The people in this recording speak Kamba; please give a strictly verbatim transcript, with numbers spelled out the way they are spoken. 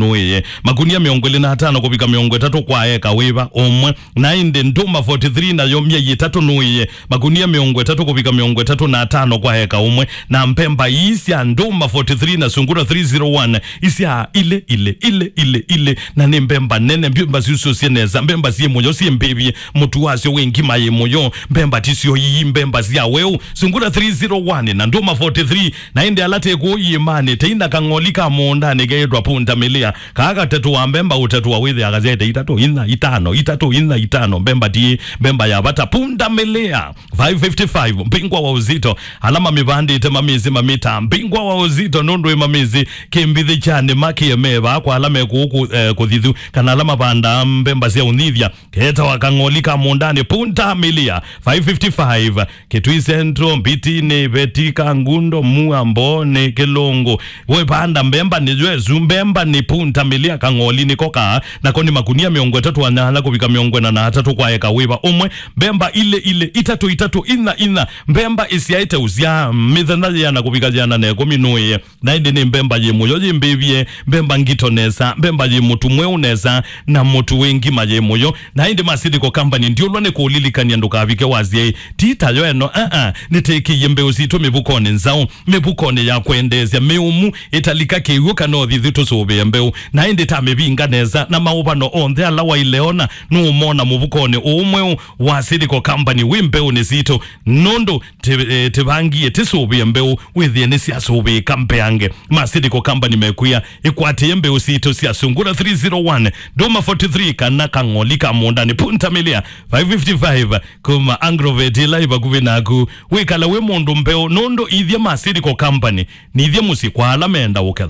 nũĩe. Makunia mĩongo ĩlĩ na atano kũvika mĩongo ĩtatũ kwa eka wĩva ũmwe. Na ĩndĩ ndũma forty three nayo myei ĩtatũ nũĩe. Makunia mĩongo ĩtatũ kũvika mĩongo ĩtatũ na atano kwa eka ũmwe. Na mbemba ii sya ndũma forty three na sungura three zero one isya ilĩ, ilĩ, ilĩ, ilĩ, ilĩ. Na nĩ mbemba nene, mbemba syusũsye nesa, mbemba syĩ mũyo, syĩ mbĩvye, mũtu wasyo wĩ ngima yĩ mũyo, mbemba tisyo ii, mbemba sya weũ. Sungura three zero one na ndũma forty three, na ĩndĩ ala tĩ kũũ iĩmanĩ, teina kang'oli ka mũũndanĩ keĩtwa punda milia, kaa katetũa mbemba ũtetũa wĩthĩa kasyaĩte itatũ, inya, itano, itatũ, inya, itano, mbemba ti, mbemba ya vata, punda milia, five fifty-five, mbingwa wa uzito, ala mamĩvandĩte mamĩsĩ mamĩta, mbingwa wa uzito, nũndũ ĩ mamĩsĩ, kĩmbithi kya nĩma kĩemee vaa kwa ala me kũũ kũ-, eh, kũthithu, kana ala mavandaa mbemba sya ũnyithya, ketawa kang'oli ka mũũndanĩ, punda milia, five fifty-five, Kitui Central, Mbitini, Veti, Kangundo, Mua, Mbooni, Kilungu. We panda mbemba nĩ yesu, mbemba nĩ punda milia, kang'oli nĩko kaa, nako nĩ makunia mĩongo ĩtatũ na nyanya kũvika mĩongo ĩna na atatũ kwa eka wĩva ũmwe, mbemba ilĩ ilĩ, itatũ itatũ, inya inya, mbemba ĩsyaĩte ũsyaa, mĩthenya yĩana kũvika yĩana na ĩkũmi nũĩe. Na ĩndĩ nĩ mbemba yĩ mũyo, yĩ mbĩvye, mbemba ngito nesa, mbemba yĩ mũtu mweũ nesa, na mũtu wĩ ngima yĩ mũyo. Na ĩndĩ Masilico Company ndiũlwa nĩ kũũlilikany'a ndũkavike wasye, "Ti tayo ĩno, aa, nĩtĩkĩie mbeũ sitũ mĩvukonĩ nzaũ, mĩvukonĩ ya kwendeesya, mĩũmu, ĩtalika kĩw'ũ kana ũthithu tũsũvĩe mbeũ." Na ĩndĩ ta mĩvinga nesa, na maũvano onthe ala waile ona, nũũmona mũvukonĩ ũũ mweũ wa Masilico Company wĩ mbeũnĩ sitũ, nũndũ tĩ-, eh, tĩvangie tĩsũvĩe mbeũ, wĩthĩe nĩsyasũvĩĩka mbeange. Masilico Company mekwĩa, ĩkwatĩe mbeũ sitũ sya sungura three zero one, ndũma forty three, kana kang'oli ka mũũndanĩ, punda milia, five fifty-five, kuma Agrovet ĩla ĩ vakuvĩ naku. Wĩkala wĩ mũndũ mbeũ, nũndũ ithya Masilico Company, nithya mũsyĩ kwa ala menda ũketha.